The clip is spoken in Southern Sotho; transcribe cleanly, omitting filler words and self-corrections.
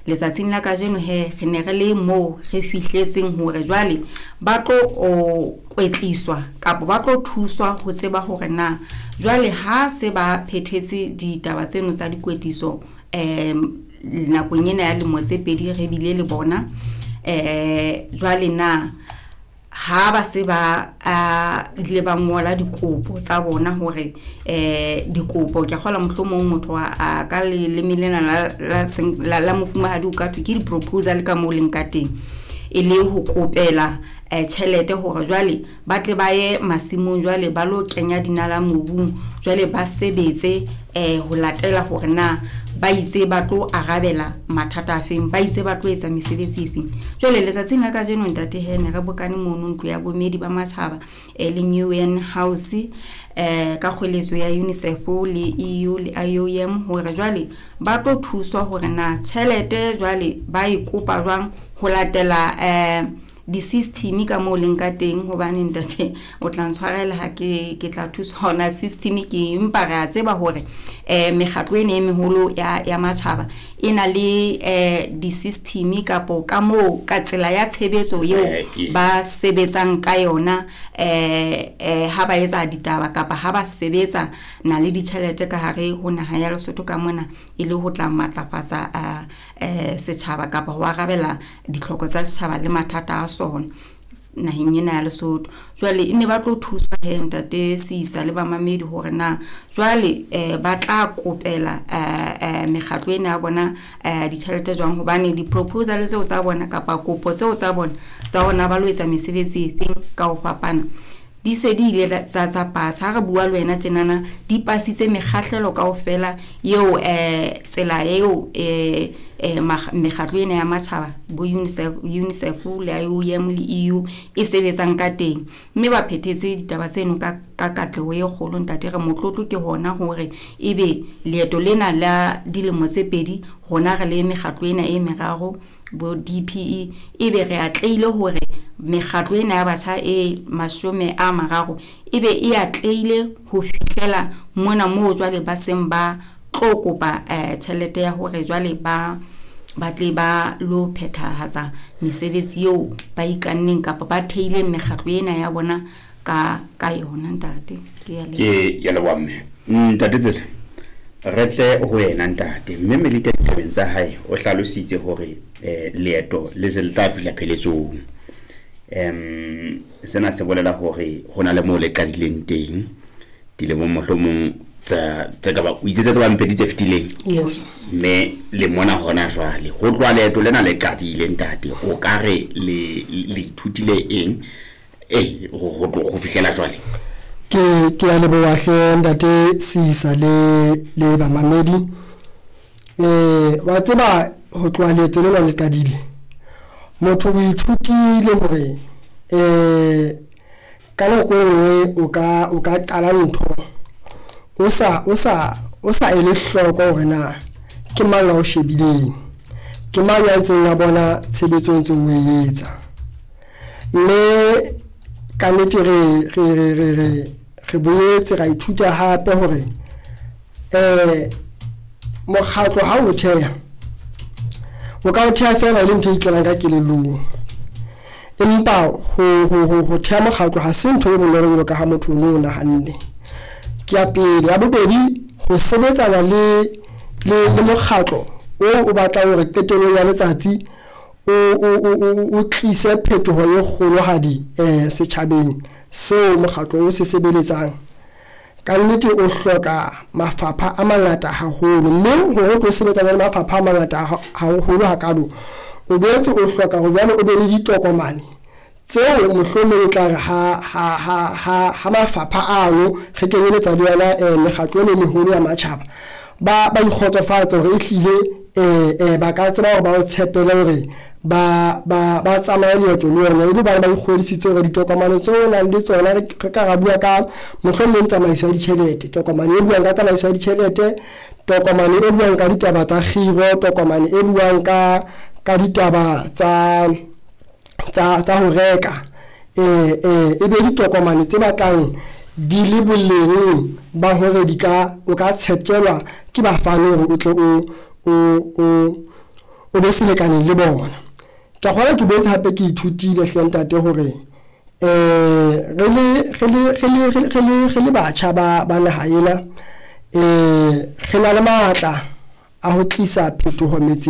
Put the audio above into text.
Letsatsing la kajeno he re ne re le moo re fihletseng hore jwale ba tlo kwetliswa kapa ba tlo thuswa ho tseba hore na jwale ha se ba phethetse ditaba tseno tsa dikwetliso nakong ena ya lemo tse pedi re bile le bona, jwale na ha ba se ba ile ba ngola dikopo tsa bona hore dikopo ke kgola mohlomong motho a ka leleme lena la mofumahadi o ka thwe ke di-proposal ka moo leng ka teng, e le ho kopela tjhelete hore jwale ba tle ba ye masimong, jwale ba lo kenya dinala mobung, jwale ba sebetse ho latela hore na ba itse ba tlo arabela mathata a feng, ba itse ba tlo etsa mesebetsi e feng. Jwale letsatsing la kajeno ntate he ne re bokane mono ntlo ya bomedi ba matjhaba e leng UN House ka kgweletso ya UNICEF le EU le IOM hore jwale ba tlo thuswa hore na tjhelete jwale ba e kopa jwang ho latela di-system ka moo leng ka teng. Hobane ntate o tla ntshwarela ha ke tla thuswa hona system ke, empa re a tseba hore mekgatlo ena e meholo ya matjhaba e na le di-system kapo ka moo ka tsela ya tshebetso eo ba sebetsang ka yona ha ba etsa ditaba kapa ha ba sebetsa na le ditjhelete ka hare ho naha ya Lesotho ka mona, e le ho tla matlafatsa setjhaba kapa ho arabela ditlhoko tsa setjhaba le mathata a sona naheng ena ya Lesotho. Jwale e ne ba tlo thuswa he ntate Sisa le bamamedi hore na jwale ba tla kopela mekgatlo ena ya bona ditjhelete jwang, hobane di-proposal tseo tsa bona kapa kopo tseo tsa bona tsa hore na ba lo etsa mesebetsi e feng ka ho fapana di se di ile tsa pasa. Ha re bua le wena tjenana di pasitse mekgahlelo kaofela eo tsela eo mekgatlo ena ya matjhaba bo UNICEF le IOM le EU e sebetsang ka teng, mme ba phethetse ditaba tseno ka katleho e kgolo. Ntate re motlotlo ke hona hore ebe leeto lena la dilemo tse pedi rona re le mekgatlo ena e meraro bo DPE ebe re atlehile hore mekgatlo ena ya batjha e 30 ebe e atlehile ho fihlela mona moo jwale ba seng ba tlo kopa tjhelete ya hore jwale ba tle ba lo phethahatsa mesebetsi eo ba ikanneng kapa ba theileng mekgatlo ena ya bona ka yona. Ntate ke ya leboha mme. Ntate Tsele, re tle ho yena ntate mme Melita ditabeng tsa hae o hlalositse hore leeto le se le tla fihla pheletsong. Sena se bolela hore ho na le moo le qadileng teng dilemong mohlomong tse ka ba o itse tse ka bang pedi tse fetileng. Yes. Mme le mona hona jwale ho tloha leeto lena le qadile ntate, o ka re le ithutile eng ho fihlela jwale? Ke a leboha hle ntate Sisa le bamamedi. Wa tseba ho tloha leeto lena le qadile, motho o ithutile hore ka nako e nngwe o ka qala ntho o sa ele hloko hore na ke mang a o shebileng, ke mang ya ntseng a bona tshebetso e ntseng o e etsa. Mme ka nnete re boetse ra ithuta hape hore mokgatlo ha o theha, o ka o theha feela e le ntho e itlelang ka kelellong, empa ho theha mokgatlo ha se ntho e bonolo jwalo ka ha motho o no nahanne. Ke ya pele. Ya bobedi, ho sebetsana le mokgatlo o batlang hore qetellong ya letsatsi o tlise phetoho e kgolohadi setjhabeng seo mokgatlo o se sebeletsang. Ka nnete o hloka mafapha a mangata haholo, mme hore o tlo sebetsana le mafapha a mangata haholo hakalo, o boetse o hloka hore jwale o be le ditokomane tseo mohlomong e tla re ha mafapha ano re kenyeletsa le yona mekgatlo e meholo ya matjhaba ba ikgotsofatse hore ehlile ba ka tseba hore ba o tshepele hore ba tsamaye leeto le wena, e le hobane ba ikgodisitse hore ditokomane tseo o nang le tsona, re ka ra bua ka mohlomong tsamaiso ya ditjhelete, tokomane e buang ka tsamaiso ya ditjhelete, tokomane e buang ka ditaba tsa kgiro, tokomane e buang ka ditaba tsa ho reka, e be ditokomane tse batlang di le boleng ba hore di ka o ka tsheptjelwa ke bafani hore o tle o be selekaneng le bona. Ka kgona ke boetse hape ke ithutile hle ntate hore re le re le re le re le re le batjha ba naha ena, re na le matla a ho tlisa phetoho metseng.